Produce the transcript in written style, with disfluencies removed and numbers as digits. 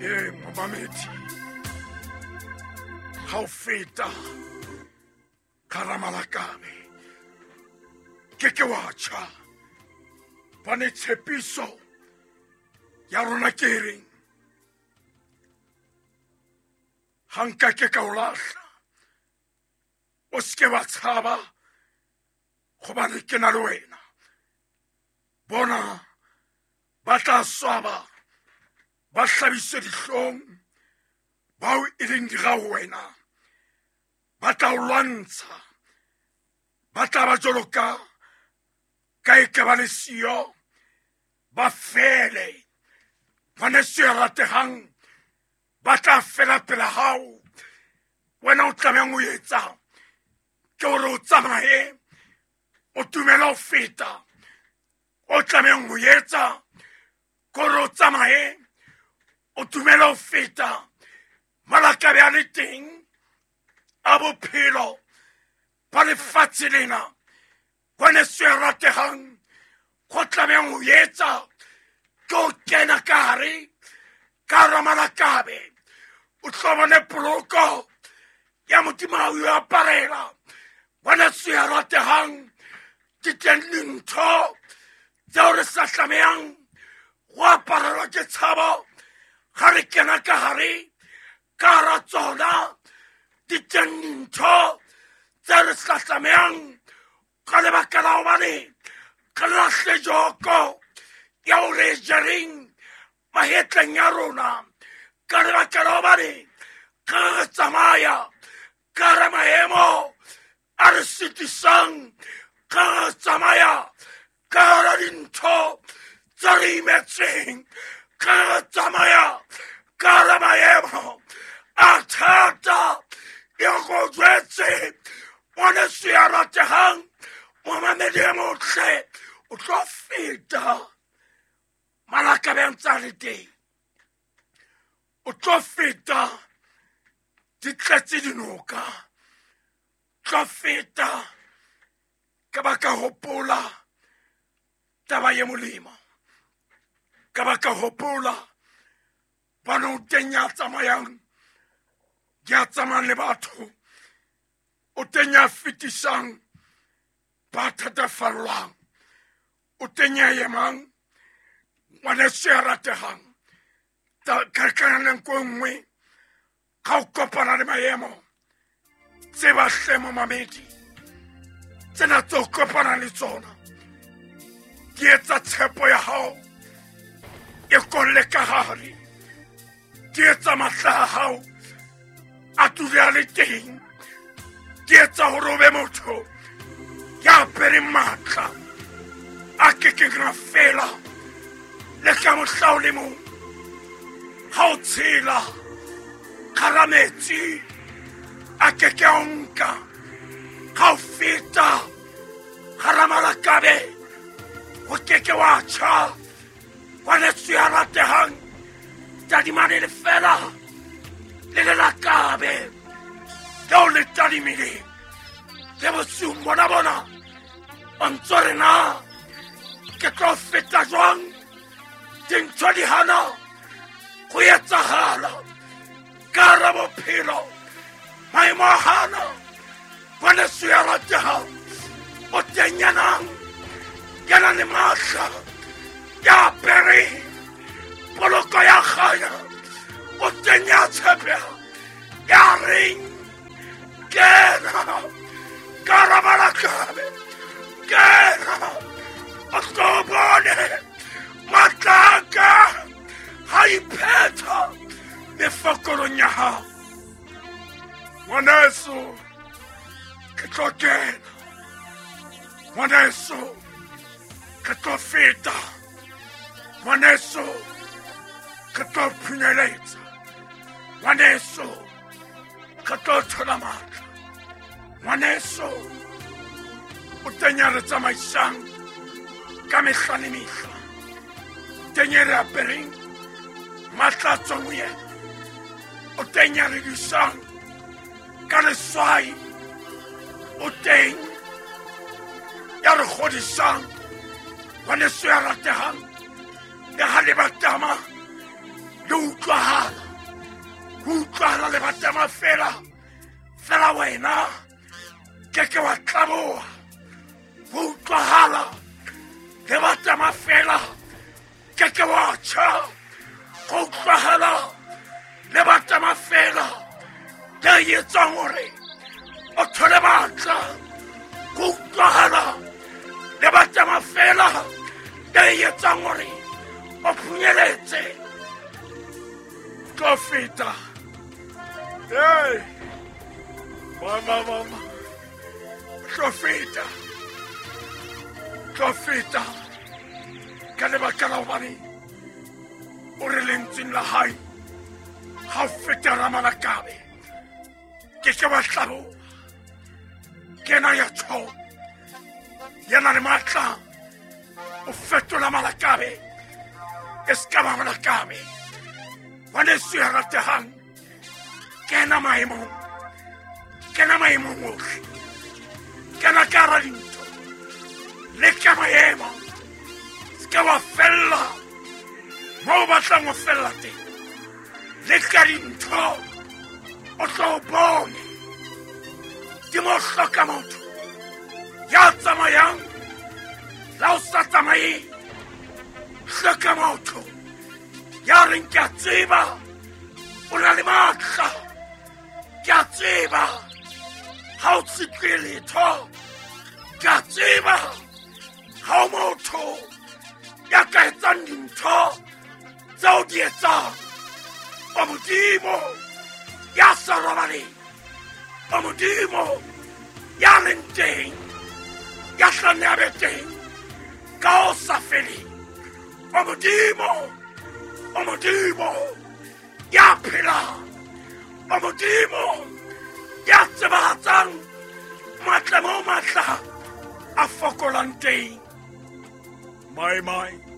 Ee, momamedi, ga o feta ka ramalakabe ke ke wa tjha, bane tshepiso ya rona ke e reng ga nka ke ka o lahla, o seke wa tshaba gobane ke na le wena. Bona ba tla swaba ba hlabiswe dihlong bao e leng dira ho wena, ba tla o lwantsha, ba tla ba jwalo ka e ka ba le siyo, ba fele. Ngwaneso ya rategang, ba tla fela pela hao. Wena o tlamehang o etsa ke hore o tsamaye o tumela ho feta. O tlamehang ho etsa ke hore o tsamaye o tumela ho feta. Malakabe a le teng a bophelo ba lefatshe lena, ngwaneso ya rategang, go tlamehang ho etsa ke o kena ka hare ka hara malakabe, o tlo bone poloko ya Modimo ha o e aparela. Ngwaneso ya rategang, ke teng dintho tseo re sa tlamehang go aparelwa ke tshabo ga re kena ka hare ka hara tsona. Di teng dintho tse re sa tlamehang ka lebaka la hobane re lahle joko ya ho re jereng mahetleng ya rona, ka lebaka la hobane ka re tsamaya ka hara maemo a re sitisang, ka re tsamaya ka hara dintho tse re imetseng, ka re tsamaya ka hara maemo a thata. E go jwetse ngwaneso ya rategang, momamedi e motle, o tlo feta malakabe a ntse a le teng, o tlo feta di tletse dinoka, tlo feta ka ba ka hopola taba ye molemo, ka ba ka hopola bana o teng ya tsamayang, ya tsamayang le batho, o teng ya fetisang ba thatafallwang, o teng ya emang ngwaneso ya rategang. Ka nako e nngwe ga o kopana le maemo, tseba hle momamedi, tsena tse o kopana le tsona di etsa tshepo ya hao e kolle ka hare, di etsa matla a hao a dule a le teng, di etsa hore o be motho ya apereng matla a kekeng a fela le ka mohla o le mong. Ha o tshela kgara metsi a keke a o nka, ha o feta gara malakabe o keke wa tjha. Ngwaneso ya rategang, tadimane le fela le lelakabe leo le tadimileng le bosiung bona bona, o ntso re na ke tlo feta jwang dintho di hana go etsahala ka hara bophelo, maemo a hana. Ngwaneso ya rategang, o teng ya nang ya nang le matla, ya apereng poloko ya kganya, o teng ya tshepega, ya reng kena ka hara malakabe, kena o tlo bone matla a ka ha iphetha mefokolong ya hao. Ngwaneso, ke tlo kena, ngwaneso, ke tlo feta, ngwaneso, ke tlo phunyeletsa, ngwaneso, ke tlo thola matla, ngwaneso, o teng ya re tsamaisang ka mehla le mehla, teng e re apereng matla a tswang ho yena, o teng ya re disang ka leswai, o teng ya re kgodisang. Ngwaneso ya rategang, le ha le batama le utlwahala. utlwahala lebatama fela fela wena ke ke wa tlaboha. Ho utlwahala lebatama fela ke ke wa tjha. Ho utlwahala lebatama fela le etsang hore o thole matla. Ho utlwahala lebatama fela le etsang hore o phunyeletse. Tlo feta. Hey, mama, mama, tlo feta, tlo feta. Ka lebaka la hobane o re lentsweng la hae ha o feta ramalakabe ke ke wa hlaboha. Ke ena ya tjho, ya na le matla o fetola malakabe e se ka ba malakabe. Ngwaneso ya ratehang, kena maemong, kena maemong ohle, kena ka hara dintho, leka maemo, se ke wa fella moo o batlang ho fella teng. Leka dintho o tlo o bone di mo hloka motho ya tsamayang la o sa tsamayeng. Hloka motho ya reng ke a tseba o na le matla, ke a tseba ha o tsitlwe letho, ke a tseba ha o motho ya ka etsang dintho tseo di etsang. O Modimo ya sa robaleng, o Modimo ya leng teng, ya tla nne a be teng ka ho sa feleng. O Modimo, o Modimo ya phelang, o Modimo ya tsebahatsang matla mo matla a fokolang teng. My, my.